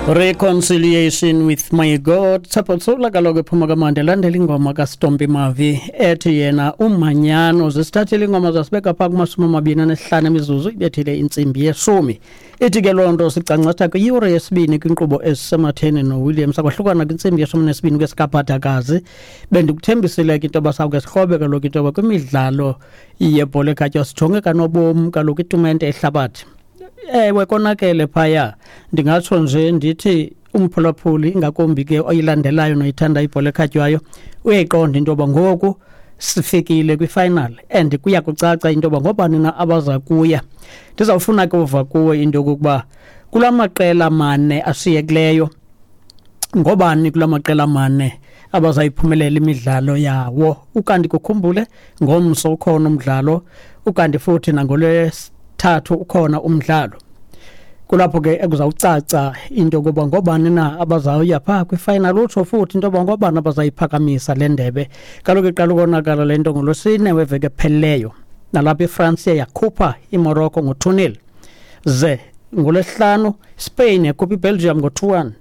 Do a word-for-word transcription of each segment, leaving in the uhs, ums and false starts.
Reconciliation with my God. Tshepo Tshola kaloku ephuma kamandi, elandela ingoma kaStompi Mavi ethi yena umanyano. Zisithathile ingoma zasibeka phaa kumashumi amabini anesihlanu emizuzu ibethile intsimbi yeshumi. Ithi ke loo nto sicangcatha kwiyure yesibini kwinkqubo ezisematheni noWilliams. Akwahlukana kwintsimbi yeshumi nesibini kwesikabhadakazi. Bendikuthembisile ke into yoba sawuke sikrobe kaloku into yoba kwimidlalo yebhola ekhatywayo sijonge kanobom kaloku itumente ehlabathi. Ewe, konakele phaya. Ndingatsho nje ndithi umphulaphuli, ingakumbi ke oyilandelayo noyithanda ibhola ekhatywayo, uyayiqonda into yoba ngoku sifikile kwi-final and kuya kucaca into yoba ngobani na abaza kuya. Ndizawufuna ke uva kuwe into yokokuba kula maqela mane ashiyekileyo, ngobani kula maqela mane abazayiphumelela imidlalo yawo. Ukanti kukhumbule ngomso ukhona umdlalo, ukanti futhi nangolwesithathu ukhona umdlalo. Kulapho ke ekuzawucaca into yokuba ngobani na abazawuya phaa kwi-final, utsho futhi into yoba ngobani abazayiphakamisa le ndebe. Kaloku iqala ukonakala le nto ngolwesine weveki ephelileyo, nalapho iFrance yakhupha iMorocco ngo-two nil. Ze ngolwesihlanu Spain yakhupha iBelgium ngo-two one.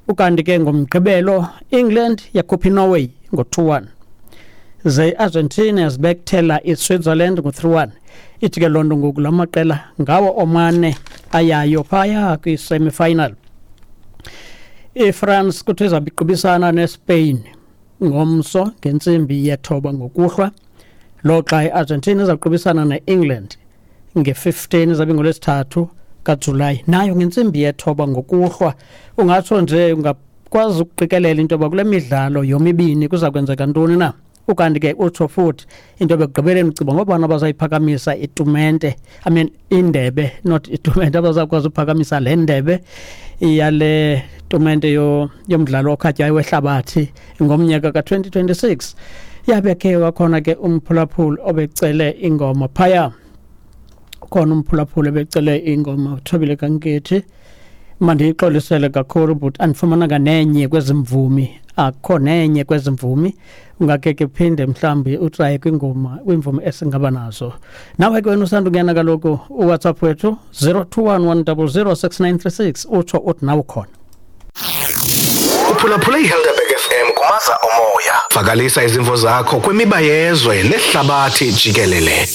Ukanti ke ngomgqibelo England yakhupha iNorway ngo-two one. Ze iArgentina yazibethela iSwitzerland ngo-three one. Ithi ke loo nto ngoku la maqela ngawo omane ayayo phaya kwi-semi-final. IFrance kuthiwa izawube iqubisana neSpain ngomso ngentsimbi yethoba ngokuhlwa, loxa iArgentina izawuqubisana neEngland nge-fifteen, izabe ngolwesithathu kaJulayi, nayo ngentsimbi yethoba ngokuhlwa. Ungatsho nje ungakwazi ukuqikelela into yoba kule midlalo yomibini kuza kwenzeka ntoni na. Ukanti ke utsho futhi into yoba ekugqibeleni ucinga ngobani abazayiphakamisa itumente, I mean indebe, not itumente, abazawukwazi uphakamisa le ndebe yale tumente yomdlalo okhatywayo wehlabathi ngomnyaka ka-twenty twenty-six. Yabe ke wakhona ke umphulaphuli obecele ingoma phaya. Ukhona umphulaphuli obecele ingoma, uThobile kaNkethi. Mandiyixolisele kakhulu but andifumananga nenye kwezi mvumi, akukho nenye kwezi mvumi. Ungake ke phinde mhlawumbi utraye kwingoma, kwimvumi esingaba nazo. Nawe ke wena usandungena kaloku uWhatsApp wethu zero two one one double zero six nine three six, utsho uthi nawe ukhona. Uphulaphule iHelderberg F M kumaza omoya. Vakalisa izimvo zakho kwimiba yezwe nehlabathi jikelele.